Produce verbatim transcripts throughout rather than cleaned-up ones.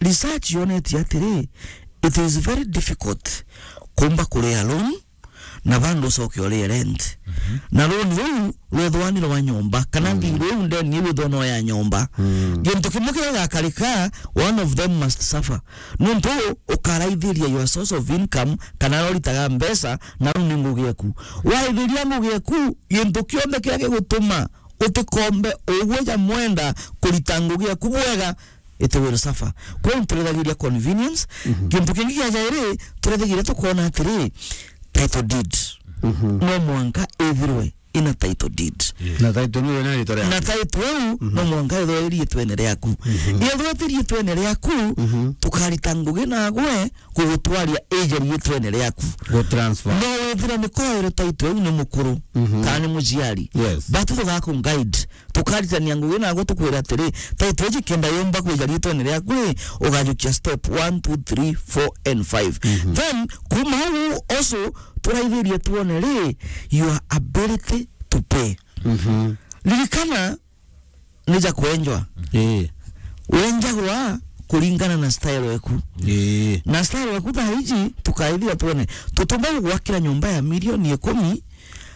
research yonetie atiri, it is very difficult kumba kuria loan na bando ucoke urie rent. Mhm. Na loan ruu rwethwa ni rwa nyomba, kana, mm, thiirwa iu ndeni iu ithwa no ya nyomba. Mm. Gintu kimwe kiria gigakarika, one of them must suffer. Nuntu ukaraithiria your source of income, kana uritaga mbeca, na ruu ni ngugi eku. Waithiria ngugi eku, gintu kionthe kiria gigutuma utikombe ugwe ja mwenda kurita ngugi eku bwega, it will suffer. Kwou turethagiria convenience. Mhm. Gintu kingi kia jairi, turethagiria tukona atiri, title deed. Mhm. No mwanka ithirwe ina title deed. Yes. Na title iu ina riitwa riaku. Na title iu, mhm, no mwanka ithirwe iriitwene riaku. Mhm. Ithirwe ti riitwene riaku, mhm, tukarita ngugi nagwe kugutwaria ija riitwene riaku. Gu transfer. No withire ni kwaire title iu ni mukuru, mhm, kana ni muciari. Yes. But tugaku guide. Tukaritania ngugi nagwe tukwira atiri, title iji kenda yumba kwija riitwene riaku ri, ugajukia step one, two, three, four and five. Mhm. Then, kuma au also, turaithirie twone ri, your ability to pay. Mhm. Ririkana, ni ja kwenjwa. Ii. Wenjagwa kuringana na style eku. Ii. Na style eku thaa iji, tukaithia twone. Tutumba gugwakira nyomba ya milioni ikumi,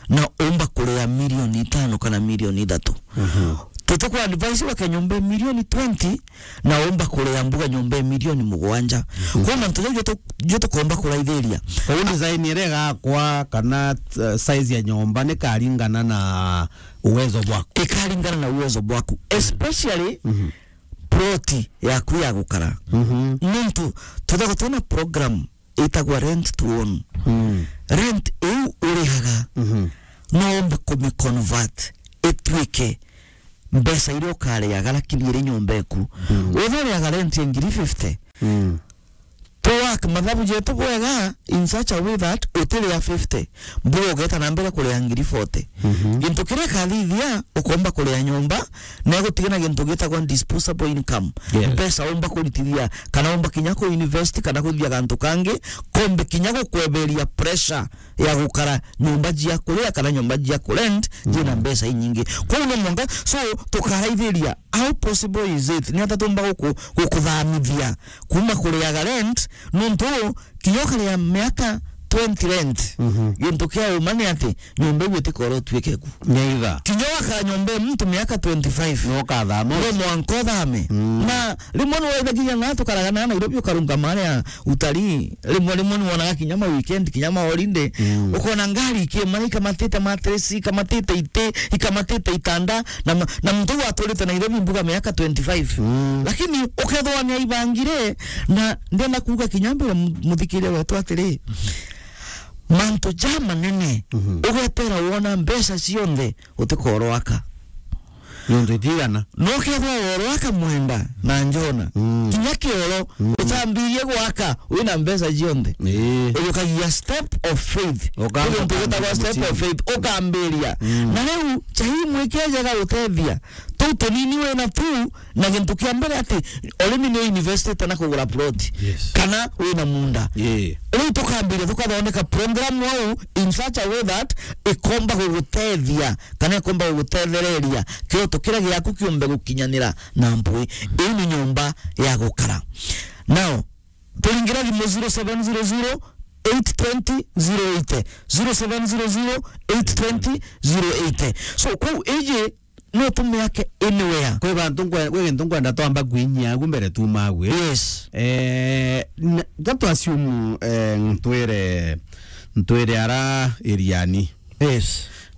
na umba kuria milioni itano kana milioni ithatu. Mhm. Tutuku advise wake nyomba ya milioni twenty, na umba kuria mbuga nyomba ya milioni mugwanja. Mhm. Kwou mantu jau jo tu-, jo tukomba kuraithiria. Kwou design iria igakwa kana, uh, size ya nyomba ni karingana na uwezo bwaku. Ikaringana na uwezo bwaku. Especially, mhm, plot yaku ya gukara. Mhm. Nuntu, tuthagwa twina program itagwa rent to own. Mm. Rent iu urihaga, mhm, no ombe kumiconvert ituike mbeca iria ukariaga, lakini iri nyomba eku. Mm. Wethira uriaga rent ya ngiri fifty, mm, to work mathabu jetu bwega in such a way that utiria fifty, mbuga ugeta na mbere kuria ngiri forty. Mhm. Gintu kiria kathithia, ukomba kuria nyomba, na igutiga na gintu gitagwa disposable income. Yes. Mbeca umba kuritithia, kana umba kinya ku invest, kana kuthithia gantu kangi, kombe kinya gukweberia pressure ya gukara nyomba jia kuria kana nyomba jia kurent, jina, mm, mbeca inyingi. Kwou no mwanka, so, tukaraithiria, how possible is it? Ni ata tumba guku-, gukuthamithia kuma kuriaga rent, nuntu kinya ukaria miaka twenty rent, mhm, gintu kia uma ni ati, nyomba iu itikora utuike ku. Neither. Kinya waka nyomba ya muntu miaka twenty-five. No ukathama. No mwanka uthame. Mm. Na rimwe ni waithagiria na tukaraga na Nairobi ukarungama aria utalii. Rimwe, rimwe ni wonaga kinya ma weekend, kinya ma holiday. Mm. Ukona ngari ikimana ikamatite mattress, ikamatite iti, ikamatite itanda, na ma-, na muntu uyu aturite Nairobi mbuga miaka twenty-five. Mm. Lakini ukethwa ni aibangire, na ndenda kuuga kinya mbere mu-, muthikiria wetu atiri, mantu ja manene, mhm, ugetera wona mbeca cionthe, utikoroaka. Nontu itigana. No kethwa woroaka mwenda na njona. Mm. Kinya kioro, mm, utambirie gwaka, wina mbeca cionthe. Ii. Ujukagia step of faith. Ukamba. Uju ntu gwitagwa step of faith. Ukambiria. Mm. Na riu, chai mwike jega utethia. Tuu tunini wina tu, na gintu kia mbere ati, urimi ni uinvestite na kugura plot. Yes. Kana wina munda. Ii. Riu tukambiria, tukathondeka program au in such a way that ikomba gugutethia kana ikomba gugutethereria kioto kiria giaku kiumbe gukinyanira na mpwi. Iu ni nyomba ya gukara. Now, turingira thimu zero seven zero zero eight twenty zero eighty, zero seven zero zero eight twenty zero eighty. So, kuu iji no tumiake anywhere. Kwi bantu nkwe-, kwi gintu nkwenda twamba kwinyia agu mbere tuuma agu, eh? Yes. Eh, n-, ga twasiumu, eh, ntwire, ntwire ara Iriani. Yes.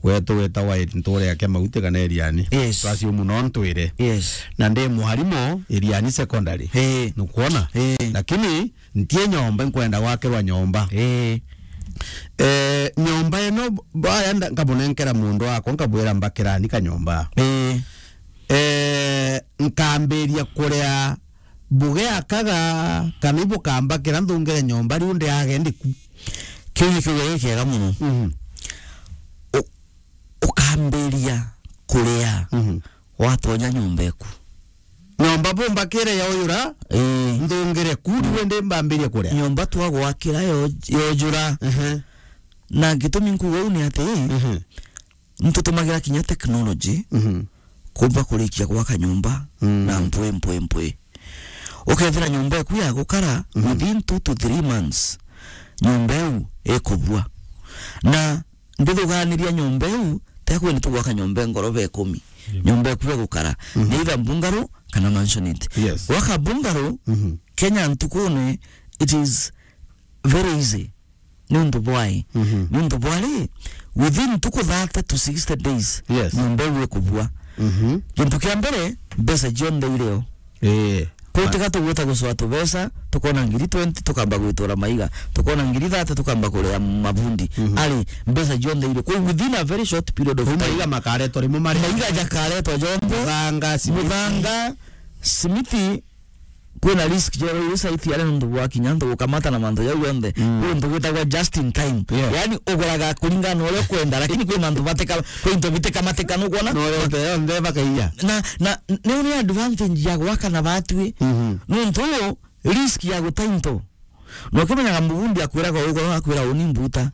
Gwetu gwitagwa Iri-, ntwire ya Kemauti kana Iriani. Yes. Twasiumu no ntwire. Yes. Na ndi mwarimu Iriani Secondary. Eh. Nukwona? Eh. Lakini ntie nyomba, nkwenda gwakirwa nyomba. Eh. Eh, nyomba ino, baya nda-, nkamunenkera mundu wakwa, nkabwira, "Mbakirani kanyomba." Eh. Eh, nkambiria kuria mbuge akaga, kana ibukambakira nthungire nyomba, riu ndiage ndiku. Kiu ni kiugo gikiega muno. Mhm. U-, ukambiria kuria. Mhm. Watonya nyomba eku. Nyomba bumbakire yaujura, ii, nthungire ku, riu indi mbambirie kuria. Nyomba twagwakira yo-, yojura. Ehe. Na gitumi nkuuga uu ni ati, ehe, nitutumagira kinya technology, mhm, kumba kurikia gwaka nyomba, mm, na mpwi, mpwi, mpwi. Ukethira nyomba eku ya gukara, mhm, within two to three months, nyomba iu ikubua. Na ndithuganiria nyomba iu, tekwiri tugwaka nyomba ngoroba ikumi. Yeah. Nyomba eku ya gukara, mhm, ni either bungalow kana mansionette. Yes. Gwaka bungalow, mhm, Kenya ntukune, it is very easy. Niuntu bwai? Mhm. Niuntu bwari, within ntuku thirty to sixty days, yes, nyomba iu ikubua. Mhm. Gintu kia mbere, mbeca cionthe irio. Eh. Kwi tiga tugwita gucoa tubeca, tukona ngiri twenty, tukamba gwitura maiga, tukona ngiri thirty, tukamba kuria mabundi. Mhm. Ari, mbeca cionthe irio. Kwi within a very short period of time. Maiga makaretwa rimwe mari. Maiga jakaretwa jonthe. Muthanga, simiti. Muthanga, simiti, kwina risk jero iri site yari nuntu bwa kinya antu gukamata na mantu jau yonthe. Mm. Kwi untu gwitagwa just in time. Yeah. Yani, uguraga kuringana na uria ukwenda, lakini kwi mantu mateka-, kwi into bitikamatika, nukwona? Na uria yonthe, yonthe bakaiya. Na, na, ni uri advantage ya gwaka na batwi. Mhm. Nuntu risk ya guta into. Na ukimenyaga mubundi akwiraga uguo, akwira uni mbuta.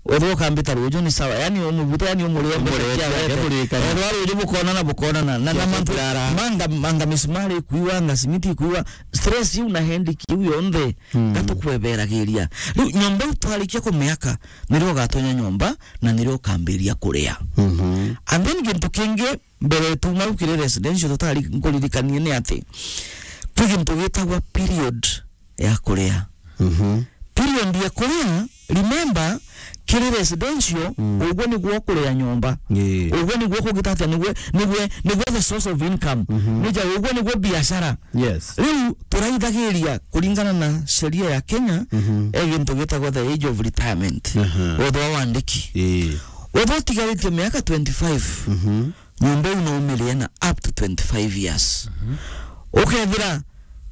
Wethirwa ukambita ruju ni sawa. Yani umubuta, yani umurie mbeca. Umurie, ciarete. Ekurikania. Ethirwa ruju bukonana, bukonana. Na, na mantu, manga, manga misumari ikuiwa, anga simiti ikuiwa. Stress iu na headache iu yonthe, mm, gatukweberagiria. Riu nyomba iu twarikia kumiaka, nirio ugatonya nyomba, na nirio ukambiria kuria. Mhm. And then gintu kingi, mbere tuma u kiri residential tutari nkuririkanie ni ati, kwi gintu gitagwa period ya kuria. Mhm. Period ya kuria, remember, kiri residential, mm, uguo niguo kuria nyomba. Ii. Uguo niguo kugita atia, niguo, niguo, niguo the source of income. Mhm. Nija uguo niguo biashara. Yes. Riu turaithagiria kuringana na sheria ya Kenya, mhm, e gintu gitagwa the age of retirement. Aha. Wethirwa wandiki. Ii. Wethirwa utigaritie miaka twenty-five. Mhm. Nyomba iu no umirie na up to twenty-five years. Mhm. Ukethira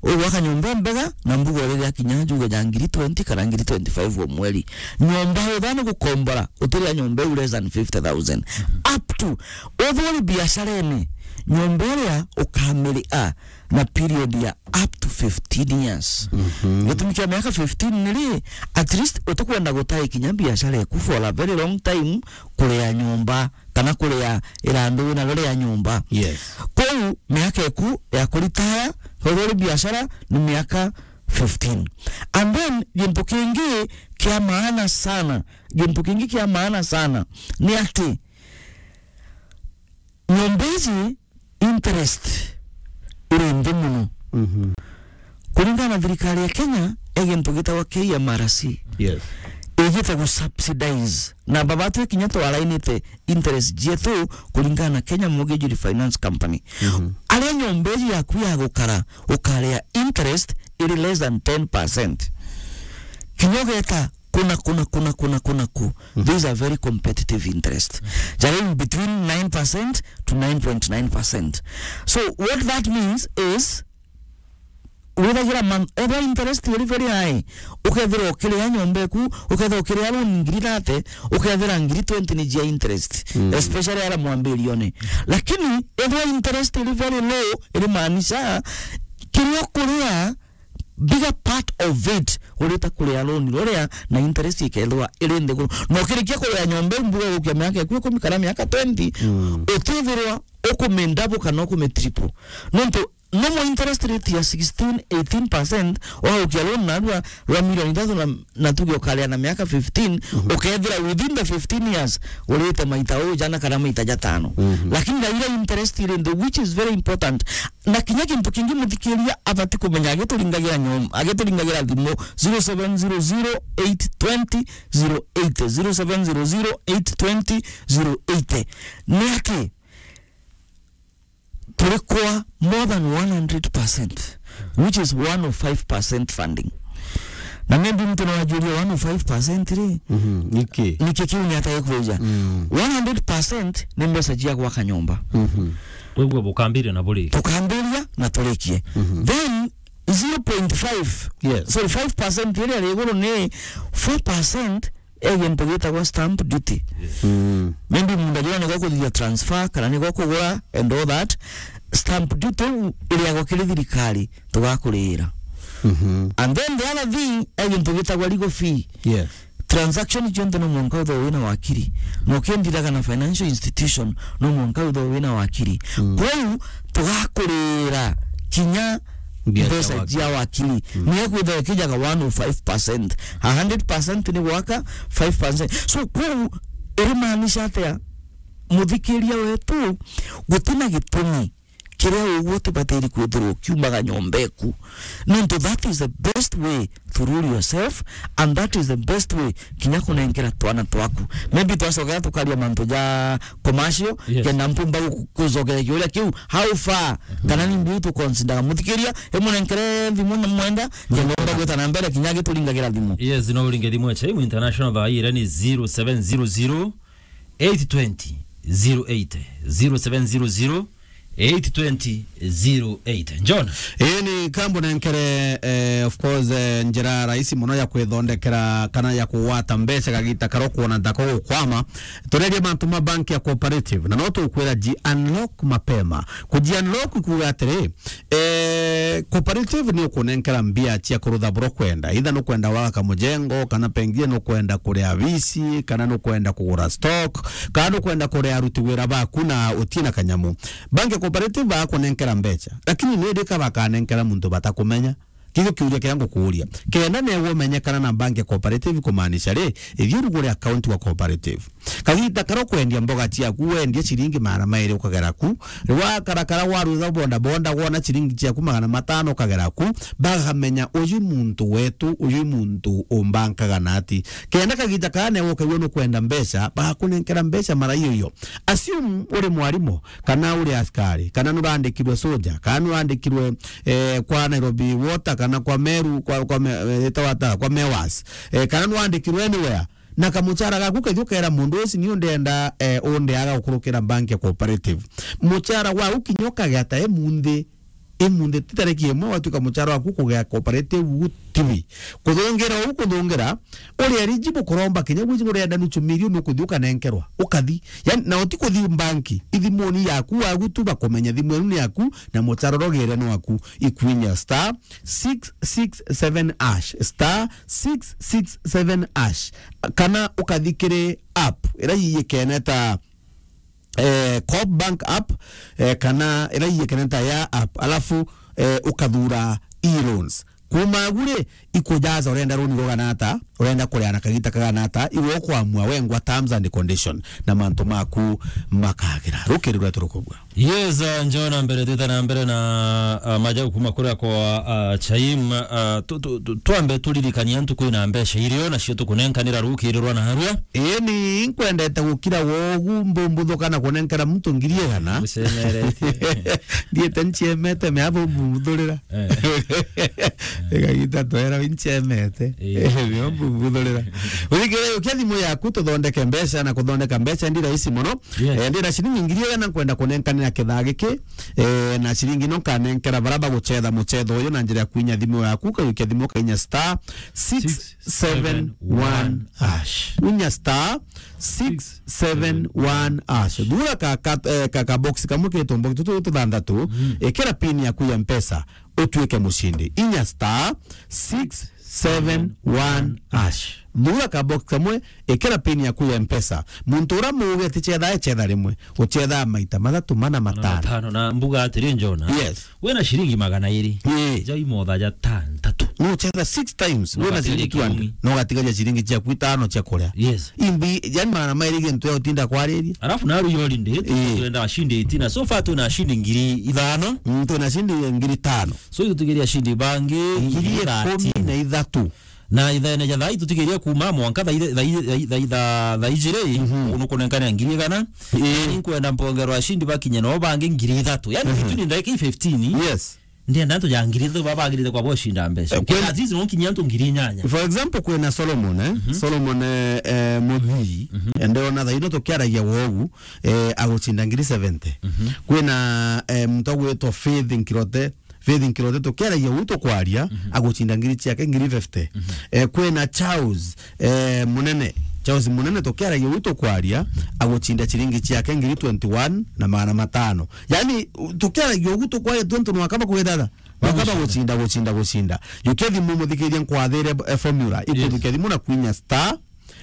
ugwaka nyomba mbega, na mbuga uriria kinya njuge ja ngiri twenty kana ngiri twenty-five o mweri. Nyomba wethirwa ni gukombora, utiria nyomba iu less than fifty thousand. Mhm. Up to, wethirwa uri biasharene, nyomba iria ukamiria na period ya up to fifteen years. Mhm. Gitumi kia miaka fifteen ni ri, at least utikwenda gutai kinya biashara eku for a very long time kuria nyomba. Kana kuria irandu wina rio ria nyomba. Yes. Kou miaka eku ya kuritaya, uria uri biashara ni miaka fifteen. And then, gintu kingi kia maana sana, gintu kingi kia maana sana ni ati nyomba iji interest iri nthi mono. Mhm. Kuringana na thirikari ya Kenya, e gintu gitagwa K M R C. Yes. Igite gu subsidize. Na baba twi kinya twarainite interest cietu kuringana na Kenya Mortgage Refinance Company. Mhm. Aria nyomba iji yaku ya gukara, ukaria interest iri less than ten percent. Kinya ugeta kuna, kuna, kuna, kuna, kuna ku. Mhm. These are very competitive interest. Jari in between nine percent to nine point nine percent. So what that means is, withagira man-, ethwa interest iri very high, ukethira ukiria nyomba eku, ukethira ukiria loan ngiri thirty, ukethira ngiri twenty ni jia interest, mm, especially ara mwambirione. Lakini ethwa interest iri very low, iri maanisha kiria ukuria, bigger part of it urita kuria loan ruria na interest ikethwa iri nthiguru. Na ukirikia kuria nyomba iu mbuga gukia miaka eku ikumi kana miaka twenty, mm, utithirwa ukumindabu kana ukumitriple. Nontu normal interest rate ya sixteen, eighteen percent, waukia loan narua rwa milioni ithatu na, na tuge ukaria na miaka fifteen, mhm, ukethira within the fifteen years, urite maita uu jana kana maita jatano. Mhm. Lakini na iria interest iri nthi, which is very important. Na kinya gintu kingi muthikiria abati kumenya agituringagira nyom-, agituringagira thimu zero seven zero zero eight twenty zero eight, zero seven zero zero eight twenty zero eight. Ni ati, turi kwa more than one hundred percent, which is one oh five percent funding. Na maybe mtu no ajurie one oh five percent ri? Mhm, niki? Niki kiu ni atai kuuja? Mm. One hundred percent ni mbeca cia gwaka nyomba. Mhm. Kwou bukambiria na burikie. Tukambiria na turikie. Mhm. Then zero point five, yes, sorry, five percent iria ri iguru ni four percent e gintu gitagwa stamp duty. Mm. Maybe muntu ajua ni gwa kuthithia transfer, kana ni gwa kugura and all that. Stamp duty iu iriagwa kiri thirikari, tugakurira. Mhm. And then the other thing, e gintu gitagwa legal fee. Yes. Transaction cionthe no mwanka uthoo wina wakiri. Na ukindiraga na financial institution, no mwanka uthoo wina wakiri. Mm. Kwou tugakurira kinya Mbia cia mbeca wakiri. Cia wakiri. Mm. Ni ekwitha ikijaga one oh five percent. A hundred percent ni gwaka, five percent. So, kwou, irimaanisha atia? Muthikiria wetu, gutina gitumi kiria uguo utibatiri kwithirwa ukiumaga nyomba eku. Nontu that is the best way to rule yourself, and that is the best way kinya kunenkera twana twaku. Maybe twacokera tukaria mantu ja commercial, yes, kenda mpumba gu-, kucokeria kiuria kiu, how far? Mhm. Kana ni mbiu tukonsindaga muthikiria, imunenkere thimu na mwenda, kenda umba gwita na mbere kinya gituringagira thimu. Yes, no uringe thimu ya Chaimu International thaa ii ni zero seven zero zero, eight twenty, zero eight, zero seven zero zero, eight twenty, zero eight. John? Ii ni kambu nenkere, eh, of course, eh, njira rahisi muno ya kwithondekera kana ya kugwata mbeca kagita karo kwona ntako gukwama. Turerie mantu ma bank ya cooperative, na no tukwira ji unlock mapema. Kuji unlock kuuga atiri, eh, cooperative ni ukunenkera mbia cia kurutha buro kwenda. Either nukwenda gwaka kamujengo, kana pengine nukwenda kuria visi, kana nukwenda kugura stock, kana nukwenda kuria aruti wira baku na utina kanyamu. Bank ya cooperative bakunenkera mbeca, lakini ni ndika bakanenkera muntu batakumenya. Kigo kiuria kiria ngukuuria. Kenda newe umenyekana na bank ya cooperative kumaanisha ri, ithii urugure account wa cooperative. Kagita kara ukwendia mboga ciaku, wendie ciringi magana mairi ukagera ku. Wakarakara waruza bonda bonda, wona ciringi ciaku magana matano ukagera ku. Bakamenya uyu muntu wetu, uyu muntu umbankaga nati. Kenda kagita kara newe ukaigua nukwenda mbeca, bagakunenkera mbeca mara iyo iyo. Assume uri mwarimu, kana uri askari, kana nurandikirwe soja, kana nurandikirwe, eh, kwa Nairobi Water, kana kwa Meru, kwa, kwa me-, eh, itawa ata, kwa Mewas, eh, kana nurandikirwe anywhere. Na kamuchara gaku kethio kera mundu uci ni undenda, eh, undeaga gukurukira bank ya cooperative. Muchara waku kinya ukagea ta imunthi, imunthi ti tariki imwe watuika muchara waku kugea cooperative gutibi. Kuthungira uu kuthungira, uri eligible kuromba kinya gwiji urenda nuchu milioni ukuthi ukanenkerwa. Ukathi. Yani, na uti kuthi banki, ithimuni yaku wagu tu bakumenya thimu inu ni yaku, na muchara urogere ni waku. Ikwinya star six six seven hash, star six six seven hash, kana ukathi kiri app ira yiyikene ta, eh, Coop Bank app, eh, kana ira yiyikene ta ya app, alafu, eh, ukathura e-loans. Kuma agu ri, ikujaza urenda runi rugana ata, urenda kuria na kagita kagana ata, iwe ukwamua wengwa terms and condition na mantu maku makagira. Rukiri rwetu rukubua. Yes, uh, njoo na mbere, twita na mbere na, uh, majau kuma kuria kwa, uh, Chaim. Uh, tu-, tu-, tu-, twambe turirikania ntuku ina mbeca irio nacio tukunenkanira rukiri rwa narua. Ii ni nkwendete gukira wogu mbumbuthuka na kunenkera muntu ngiri igana. Ucemeretie. Ndiete nciemete mea bumbuthurira. Eh. Igagita twera wincemete. Eh. Eh, nio mbuthurira. Urigire ukia thimu yaku tuthondeke mbeca, na kuthondeka mbeca ndi rahisi muno. Yes. Eh, ndina ciringi ngiri igana nkwenda kunenkanira kithaa giki. Eh, na ciringi no nkanenkera bara bagucetha mucetho uyu na njira ya kwinya thimu yaku, ukaikia thimu ukainya star six seven one hash. Unya star six seven one hash. Thura ka, ka, eh, ka, ka box kamwe ke tumbox tutu tuthanthatu, mm, ikira pin yaku ya Mpesa, utuike mucindi. Inya star six seven one hash. Thura ka box kamwe, ikira pin yaku ya Mpesa. Muntu ura muuge ti cetha, e cetha rimwe. Ucetha maita mathatu, mana, matano. Matano. Na mbuga atiri, Njona. Yes. Wina ciringi magana iri. Ii. Jai motha ja ta ntatu. No uchetha six times. No wina ciringi two hundred. No ugatigaria ciringi ciaku itano cia kuria. Yes. Imbi, yani magana mairi gintu ya utinda kwariria. Alafu naru yo holiday, ii, twenda ashinde itina. So far twina ashinde ngiri ithano. Mm, twina ashinde ngiri tano. So itutigeria ashinde bangi ngiri ikumi na ithatu. Na ithaene ja thai tutigeria kuma mwanka thai, thai, thai, thai, tha-, thai jiri, mhm, unukunenkania ngiri igana. Ii. Ni nkwenda mpongerwa ashinde bakinye no bangi ngiri ithatu. Yani, mhm, itu ni ndagika fifteen. Yes. Ndienda antu ja ngiri ithatu babagirite kwa boshinda mbeca. Eh, kwena, at least no kinya antu ngiri inyanya. For example, kwena Solomon, eh? Mhm. Solomon, eh, eh, Muthii, mhm, ende ona thaino tukiaragia wogu, eh, aguchinda ngiri seventy. Mhm. Kwena, eh, muntu agwitwa Faith Nkirote, Faith Nkirote tukiaragia uu tukwaria, mhm, aguchinda ngiri ciake ngiri fifty. Mhm. Eh, kwena Charles, eh, Munene, Charles Munene tukiaragia uu tukwaria, aguchinda ciringi ciake ngiri twenty-one na magana matano. Yani, u-, tukiaragia ugu tukwaria twenty no akaba kwithatha. No akaba guchinda, guchinda, guchinda. Yukia thimu muthikirie nkwathire, eh, formula. Yes. Ikuthukia thimu na kwinya star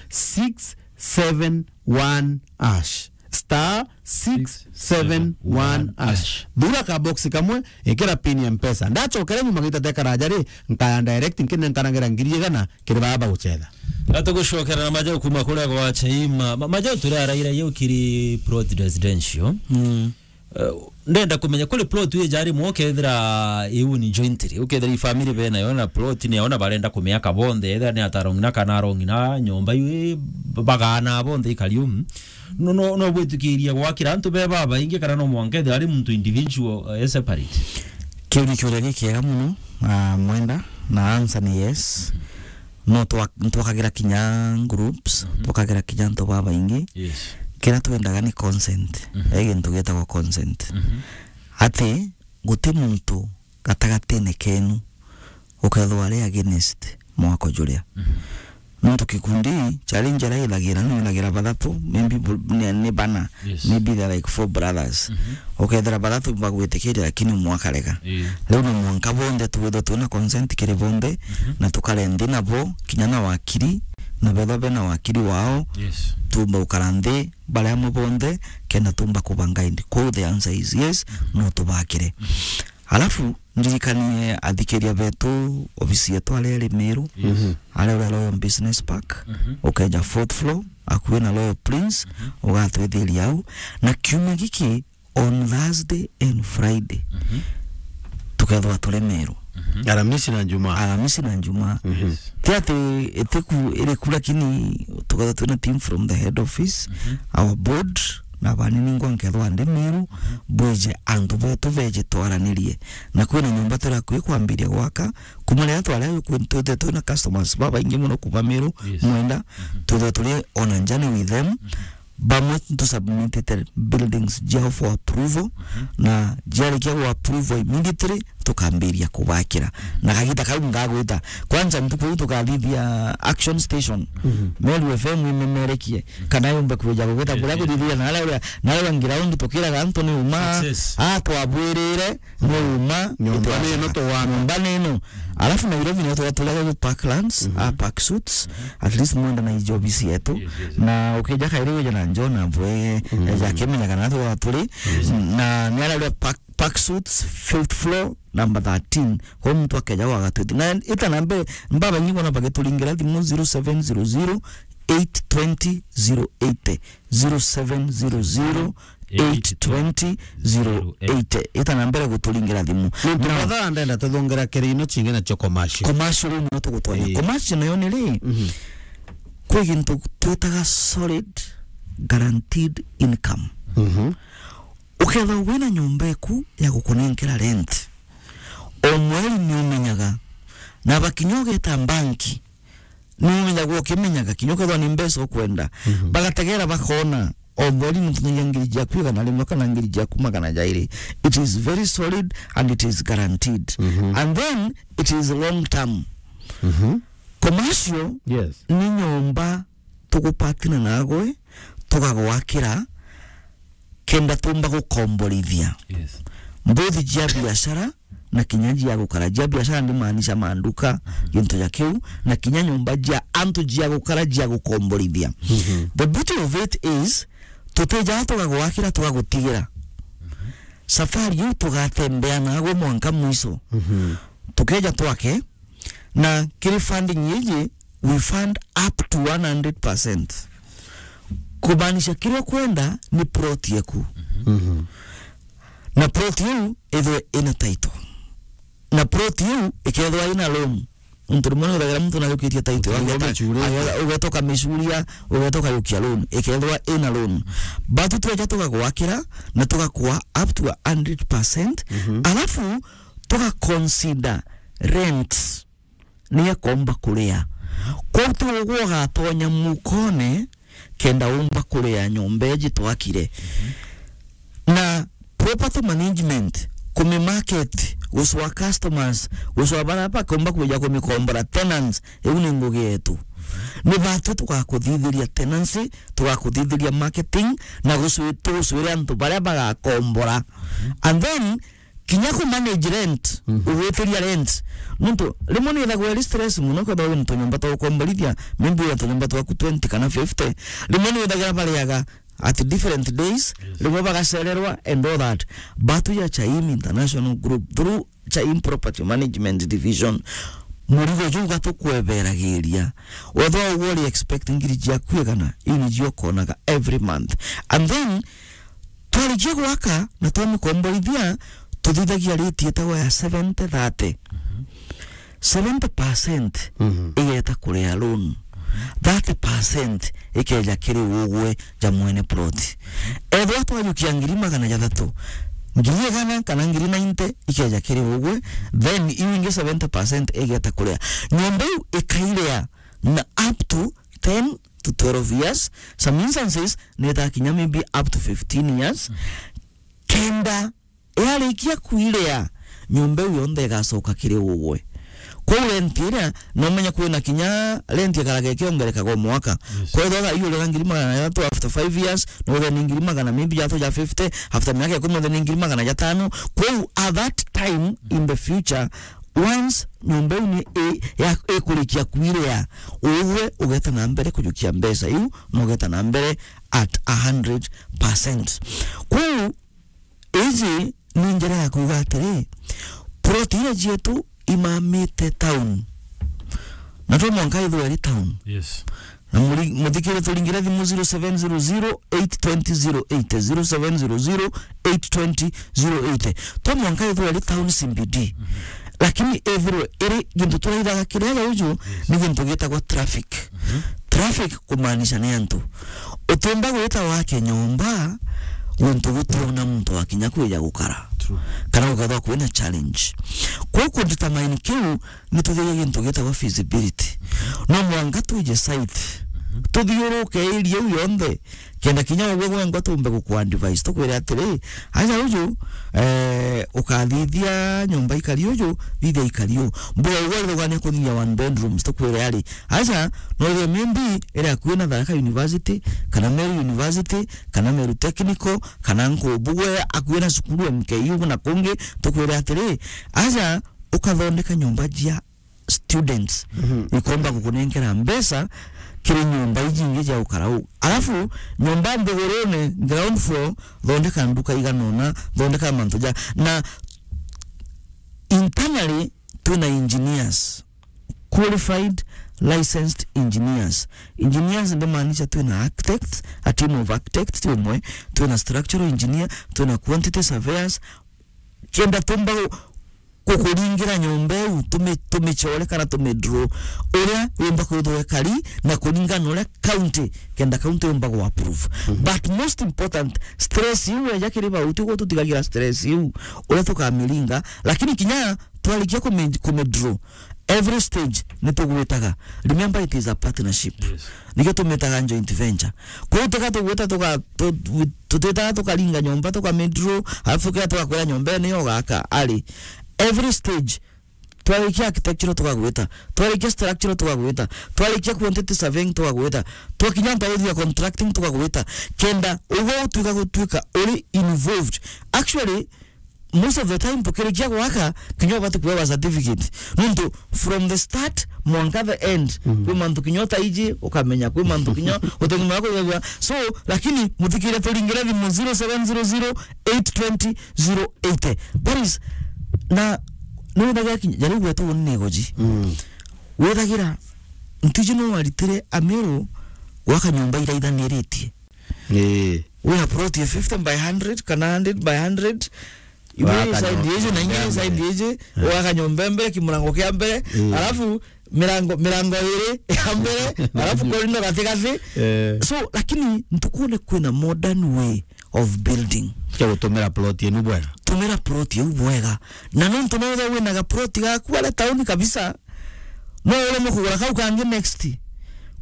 six seven one hash. star six seven one hash. Thura ka box kamwe, ikira pin ya Mpesa. Ndachokere nyuma gita tekaraja ri, nkaya direct nkine nkanagera ngiri igana kiri baba guchetha. Gatugucokera na majau kuma kuria gwa Chaima. Ma-, majau turi araira yo kiri plot residential. Mm. Eh, ndenda kumenya kuri plot wi jari mwo kethira iu ni jointly. Ukethira i family bena yo na plot ni yona barenda kumiaka bonthe, ethira ni atarongina kana arongina nyomba iu bagana bonthe ikariu. No, no, no gwitikiria gwakira antu be babaingi kana no mwanka ethira ari muntu individual, eh, separate? Kiu ni kiuria gikiega muno, ah, Mwenda, na answer ni yes. No twa-, twakagira kinya groups, mhm, twakagira kinya antu babaingi. Yes. Kiria twendaga ni consent. Mhm. He gintu gitagwa consent. Mhm. Ati guti muntu gatagatine kenu ukethwa ari against mwako juria. Mhm. Nontu gikundi challenge iria ithagira, no ithagira bathatu, maybe bu-, ni, ni bana, yes, maybe they're like four brothers. Mhm. Ukethira bathatu bagwitikiria, lakini umwe akarega. Ii. Riu no mwanka bonthe twithwe twina consent kiri bonthe, mhm, na tukare nthi nabo, kinya na wakiri, na bethwa bena wakiri wao, yes, tumba gukara nthi bari amwe bonthe, kenda tumba kuba guide. Kwou the answer is yes, mhm, no tubakire. Mhm. Alafu, ndirikanie athikiria betu, ofisi yetu aria iri Meru, yes, mhm, aria uri Royal Business Park, mhm, ukeja fourth floor, akui na Royal Prince, mhm, ugatwithiria au. Na kiumia giki, on Thursday and Friday, mhm, tukethwa turi Meru. Mhm. Aramisi na Njumaa. Aramisi na Njumaa. Mhm. Yes. Ti ati itiku iriku, lakini tukethwa twina team from the head office, mhm, our board, na bani ningwa nkethwa ndi Meru, mhm, bwije antu betu beje twaranirie. Na kwina nyomba turi akui kwambiria gwaka, kuma riria twari akui twithire twina customers babaingi muno kuma Meru, yes, Mwenda, mhm, twithire turi on a journey with them. Mhm. Bamwe ntu submitite buildings jiao for approval, mhm, na jiarikia gu approval immediately tukambiria kubakira. Na kagita kau ngagwita. Kwanza ntuku iu tukathithia action station. Mhm. Meru F M imemerekie. Kana yumbe kwija kugwita, eh, kuria, eh, kuthithia na aria, na aria ground tukiraga antu ni uma. Success. Ah, twabwirire, ni uma. Nyomba ni ino tuwana. Nyomba ni ino. Alafu Nairobi nio tugaturaga gu Parklands, mhm, ah, Park Suites. Mhm. At least Mwenda na iji ofisi yetu. Yes, yes. Na ukija kairi wija na John abwe, mhm, eja akimenyaga na tuga turi. Yes. Na ni aria uria Park, Park Suites, fifth floor, number thirteen. Kwa muntu akeja gwaga twiti. Na ita na mbere, mbaba nyingi bona bagituringira thimu zero seven zero zero, eight twenty, zero eighty. Zero seven zero zero, eight twenty, zero eighty. Ita na mbere guturingira thimu. Nontu mathaa ndenda tuthongera kiri ino chingi nacio commercial. Commercial riu nio tugutwanya. Ii. Commercial nayo ni ri? Mhm. Kwi gintu twitaga solid guaranteed income. Mhm. Ukethirwa wina nyomba eku ya gukunenkera rent, o mweri ni umenyaga, na bakinya ugeta banki, ni umenyagwa ukimenyaga, kinya ukethwa ni mbeca ukwenda. Mhm. Bagategera bakona, o mweri ni utunyagia ngiri ciaku igana rimwe kana ngiri ciaku magana jairi. It is very solid and it is guaranteed. Mhm. And then it is long term. Mhm. Commercial, yes, ni nyomba tugupatina nagwe, tugagwakira, kenda tumba gukomborithia. Yes. Mbuthi jia biashara, na kinya jia gukara. Jia biashara ndimaanisha manduka, mhm, gintu ja kiu, na kinya nyomba jia antu jia gukara jia gukomborithia. Mhm. The beauty of it is, tutijaa tugagwakira, tugagutigira. Mhm. Safari iu tugatembea nagwe mwanka mwiso. Mhm. Tukeja twake, na kiri funding iji, we fund up to one hundred percent. Kumaanisha kiria ukwenda ni plot yeku. Mhm. Na plot iu ithwe ina title. Na plot iu ikethwa ina loan. Untu rimwe ni uthagira muntu najukitie title, ugeta, ugeta ukamicuria, ugeta ukajukia loan, ikethwa ina loan. But tweja tugagwakira na tugakua up to a hundred percent. Mhm. Alafu tuga consider rent ni akomba kuria. Kwou ti ugwe ugatonya mukone kenda umba kuria nyomba iji twakire. Mhm. Na property management, kumimarket, gucwa customers, gucwa baria bakomba kwija kumikombora, tenants, iu ni ngugi yetu. Ni batwi tugakuthithiria tenancy, tugakuthithiria marketing, na gucwi-, tugucwire antu baria bagakombora. Mhm. And then, kinya ku manage rent, mhm, ugwitiria rent. Nontu rimwe ni ithagwa iri stress muno, kethirwa wina tunyomba twa gukomborithia, maybe wina tunyomba twaku twenty kana fifty. Rimwe ni ithagira bariaga, at different days, yes, rimwe bagacererwa and all that. But ya Chaim International Group, through Chaim Property Management Division, murigo juu gatukweberagiria. Wethwa ugwe uri expect ngiri ciaku igana, iu nijio ukonaga every month. And then, twarikia gwaka na twamikomborithia, tuthithagia rate itagwa ya seventy thirty. Mhm. Seventy percent, mhm, igeta kuria loan. Thirty percent ikeja kiri ugwe ja mwene plot. Ethwa twajukia ngiri magana jathatu, ngiri igana kana ngiri ninety ikeja kiri ugwe, then iu ingi seventy percent igeta kuria. Nyomba iu ikairia na up to ten to twelve years, some instances nitakinya maybe up to fifteen years. Kenda yarikia kwiria, nyomba iu yonthe igacoka kiri ugwe. Kwou rent iria, no umenye kwina kinya rent ikaraga ikiongerekaga o mwaka. Yes. Kwethwa thaa iu urira ngiri magana jathatu, after five years, no uthire ni ngiri magana maybe jathatu ja fifty, after miaka ikumi uthire ni ngiri magana jatano. Kwou at that time in the future, once nyomba iu ni i-, ya-, ikurikia kwiria, ugwe ugeta na mbere kujukia mbeca iu, na ugeta na mbere at a hundred percent. Kwou iji ni njira ya kuuga atiri, plot iria cietu imamite town, na to mwanka ithwe iri town. Yes. Na muri-, muthikire turingire thimu zero seven zero zero eight twenty zero eight, zero seven zero zero eight twenty zero eight. To mwanka ithwe iri town C B D. Mhm. Lakini ethirwe iri gintu turaithaga kiria ja uju, yes, ni gintu gitagwa traffic. Mhm. Traffic kumaanisha ni antu. Utiumba gwita wake nyomba guntu gutiona muntu wakinya kwija gukara. True. Kana gukethwa kwina challenge. Kwou kudetermine kiu, ni tuthirie gintu gitagwa feasibility. No mwanka twije site. Mhm. Tuthiuruke area iu yonthe. Kenda kinya ugwe gwengwa tumbe gukuadvise, tukwire atiri, aja uju, eh, ukathithia nyomba ikari uju, thithia ikari u. Mbuga ugwe rugania kuthithia one bedrooms, tukwire ari, aja, no ithire maybe iri akui na Tharaka University, kana Meru University, kana Meru Technical, kana nku bugwe akui na cukuru M K U na kungi, tukwire atiri, aja, ukathondeka nyomba jia students, mhm, ikomba gukunenkera mbeca kiri nyomba iji ingi ja ukara u. Alafu nyomba nthigurune, ground floor, thondeka nduka igana una, thondeka mantu ja, na internally twina engineers, qualified licensed engineers. Engineers ndimaanisha twina architects, a team of architects ti umwe, twina structural engineer, twina quantity surveyors, kenda tumba gu-, gukuringira nyomba iu, tumi-, tumichore kana tumidraw uria yumba kwithirwa ikari na kuringana na uria county, kenda county yumba gu approve. Mhm. But most important, stress iu eja kiri bauti, uguo tutigagira stress iu uria tukamiringa, lakini kinya twarikia kumi-, kumidraw, every stage ni tugwitaga. Remember, it is a partnership. Yes. Nikio tumitaga joint venture. Kwou tiga tugwita tuga-, tu-, tu-, tutitaga tukaringa nyomba, tuka midraw, alafu tukia tugakwira nyomba ino ugaka. Ari, every stage, twarikia architectural tugagwita, twarikia structural tugagwita, twarikia quantity surveying tugagwita, twakinya ntwarithia contracting tugagwita. Kenda ugwe utwika gutwika uri involved. Actually, most of the time tukirikia gwaka, kinya ubati kuewa certificate. Nontu from the start mwanka the end, mm, kwi mantu kinya utaiji ukamenya, kwi mantu kinya utegumenya kuigagua. So, lakini muthikire turingire thimu zero seven zero zero eight twenty zero eighty. That is, na ni withagira kinya, jariu gwetwa uni ni goji. Mm. Withagira, ntiji no waritire Amiru gwaka nyomba iraithaniritie. Ii. Wina plot ya fifty by hundred kana hundred by hundred. Imwe side iji na ingine side iji, eh, waka nyomba mbere, kimurango kia mbere, eh, alafu mirango, mirango iri ya mbere, alafu corridor gatigati. Eh. So, lakini ntukune kwina modern way of building. Kia gutumira plot inu bwega. Tumira plot iu bwega. Na nontu no wina ga plot gaku aria town kabisa, no uremwe kugura kau kangi next.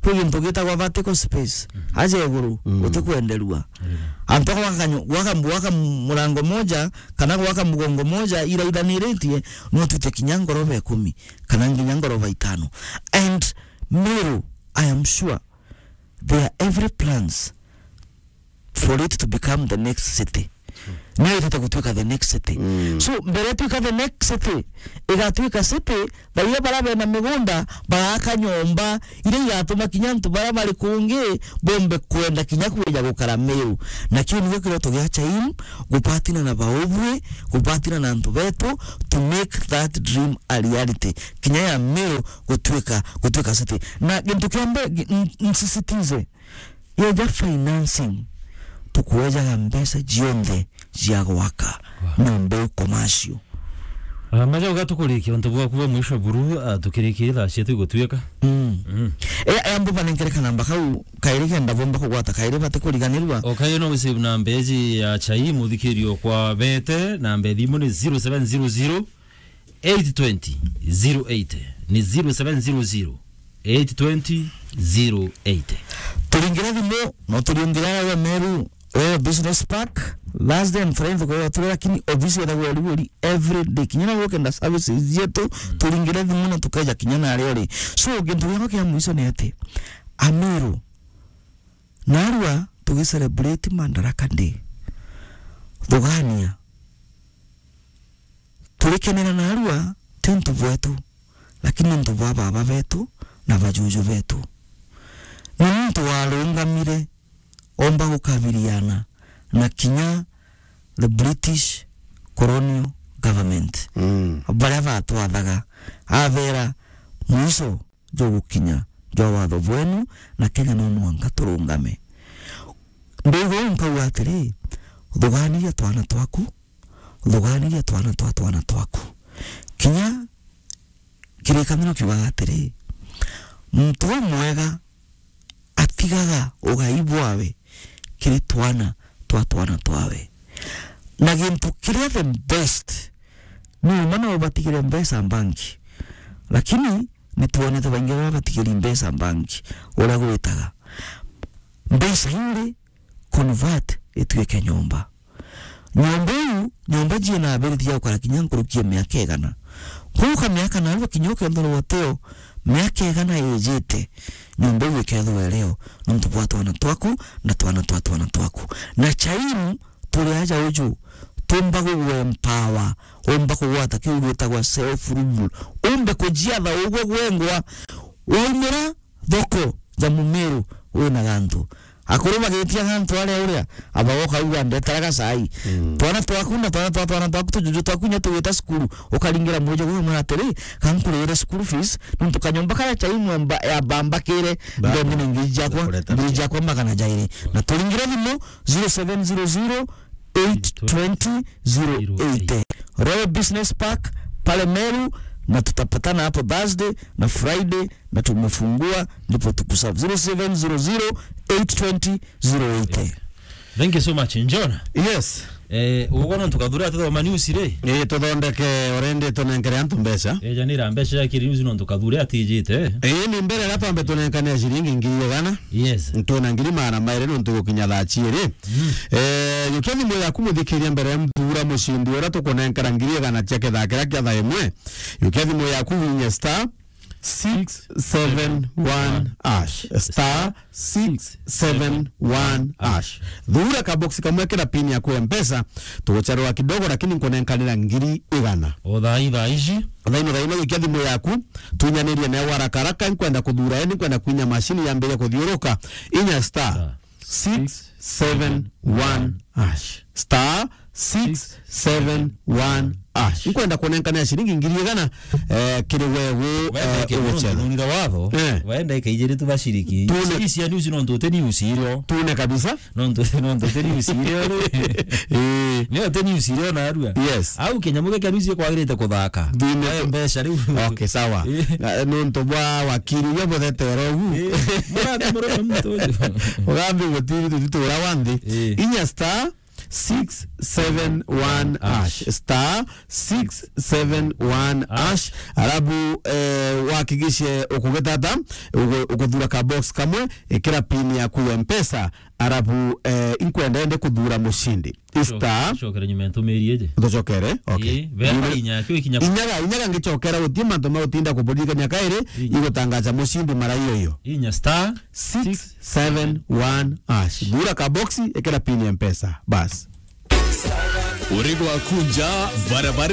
Kwi gintu gitagwa vertical space. Mhm. Aja iguru, mm, utikwenderua. Mm. Antu gwaka nyu-, gwaka, gwaka murango moja, kana gwaka mugongo moja, iraithaniritie, no twite kinya ngoroba ikumi, kana nginya ngoroba itano. And Meru, I am sure, there are every plans for it to become the next city. Niyo itite gutuika the next city. Mm. So, mbere tuika the next city, igatuika city, baria bara bena migunda, bagaaka nyomba, iria igatuma kinya antu bara bari kungi, bombe kwenda kinya kwija gukara Meru. Na kiu nikio kiroto gia Chaim, gupatina na baubwi, gupatina na antu betu, to make that dream a reality. Kinya ya Meru gutuika, gutuika city. Na gintu kia mbere, gi-, n-, nsisitize, yeja financing, tukwejaga mbeca cionthe cia gwaka nyomba iu commercial. Ah, maja ugatukurikia untu bwaku bwa mwisho buru, ah, tukirikie thaa cietu igutwika. Mm. Mm. E, e, ambu banenkere kanamba kau kairi kenda bomba kugwata kairi bate kuriganirwa. O kairi no wisave na mbeji ya Chai muthikirio kwa bete, na mbeji thimu ni zero seven zero zero, eight twenty, zero eight. Ni zero seven zero zero, eight twenty, zero eight. Turingire thimu, no turiungire ara ya Meru, Royal Business Park, Thursday and Friday tukoragwa turi, lakini ofisi ethagwa iri uri every day. Kinya na gukenda services cietu, turingire thimu na tukeja kinya na aria uri. So, gintu giakwa kia mwiso ni ati, Ameru, narua tugi celebrate Madaraka Day. Thugania. Turikenera narua, ti untu bwetu, lakini ni untu bwa baba betu na bajuju betu. Ni muntu warungamire, omba gukabiliana na kinya the British colonial government. Mm. Baria batwathaga, abera, mwiso jugukinya jwa watho bwenu, na Kenya no mwanka turungame. Ndauga uu nkauga atiri, thuganiria twana twaku, thuganiria twana twa twana twaku. Kinya kirikaniro kiugaga atiri, muntu umwega atigaga ugai bwawe kiri twana twa twana twawe. Na gintu kiria the best, ni uma no ubatigire mbeca mbanki, lakini nitwonete baingi baria batigiri mbeca mbanki uria gwitaga. Mbeca iri convert ituike nyomba. Nyomba iu, nyomba ciina abirithia gukara kinya nkuruki ya miaka igana. Kuuka miaka narua kinya ukethirwa uteo, miaka igana ijite, nyomba iu ikethirwa irio nontu bwa twana twaku na twana twa twana twaku. Na Chaimu turi aja uju, tumba gugu empower, umba kugwata kiu gitagwa self rule. Umbe kujiatha ugwe gwengwa, waumira thoko ja Mumiru wina gantu. Akuru bagitia gantu aria uria, abagoka uga ndetaraga cai. Mm. Twana twaku na twana twa twana twaku tujuju twaku nya tugita cukuru, ukaringira mwijo gwe mwana atiri, kankurire school fees, nontu kanyomba karia Chaimu ya mbambakire, ndongine ngiri jakwa, ngiri jakwa magana jairi. Na turingire thimu, zero seven zero zero, eight twenty, zero eight. Royal Business Park, pale Meru, na tutapatana hapo Thursday na Friday, na tumefungua, ndipo tukuserve. Zero seven zero zero, eight twenty, zero eight. Thank you so much, Njona. Yes. Eh, ugo no tukathura tuthoma news ri? Eh, tuthondeke already tunenkere antu mbeca. Eh, janira mbeca ya kiri news no tukathure atijite. Eh, ni mbere na twambe tunenkane ciringi ngiri igana. Yes. Twina ngiri magana mairi nontu gukinya thaa ciiri. Mm. Eh, yukia thimu yaku muthikiria mbere ya mthura mucindi uria tukunenkera ngiri igana cia kithaa kiria kia thaa imwe. Yukia thimu yaku winye star six seven one hash. Star six seven one hash. Thura ka box kamwe kira pin yaku ya Mpesa, tugucherwa kidogo lakini nkunenkanira ngiri igana. O thaa i thaa ici. Thaino thaino yukia thimu yaku, tunyanirie nayo haraka haraka, nkwenda kuthura, yani nkwenda kwinya mashini yambire kuthiuruka. Inya star six seven one hash. Star six seven one hash. Nkwenda kunenkania ciringi ngiri igana, eh, kiri wewe, eh, uguchera. Nunira watho, eh, waenda ikaijiri tu bashiriki. Tune. Cia news nontu uti news irio. Tune kabisa. Nontu, nontu uti news irio ri. Eh. Ni uti news irio narua. Yes. Au kinyamu giki news kwagirite kuthaka. Tune. Wae mbeca riu. Okay, sawa. Eh. Na, nontu bwa wakiri uria buthetera ugu. Eh. Murathi murume muntu uju. Ugambi gutiri tutu ura wanthi. Eh. Inya star six seven one hash. Star six seven one hash. Arabu, eh, wakigishe ukugitata, ugu-, ukuthura ka box kamwe, ikira pin yaku ya Mpesa, arabu, eh, inkwenda ende kuthura mushindi. Star. Cokere nyuma ntumiri iji. Tucokere? Okay. Ii, vema inya, kio ikinya. Inyaga, inyaga ngicokera gutie mantu ma gutinda kuburirikania kairi, ii, igutangaza mushindi mara iyo iyo. Inya star six seven one hash. Thura ka box, ikira pin ya Mpesa. Bas. Uri gwaku nja, barabara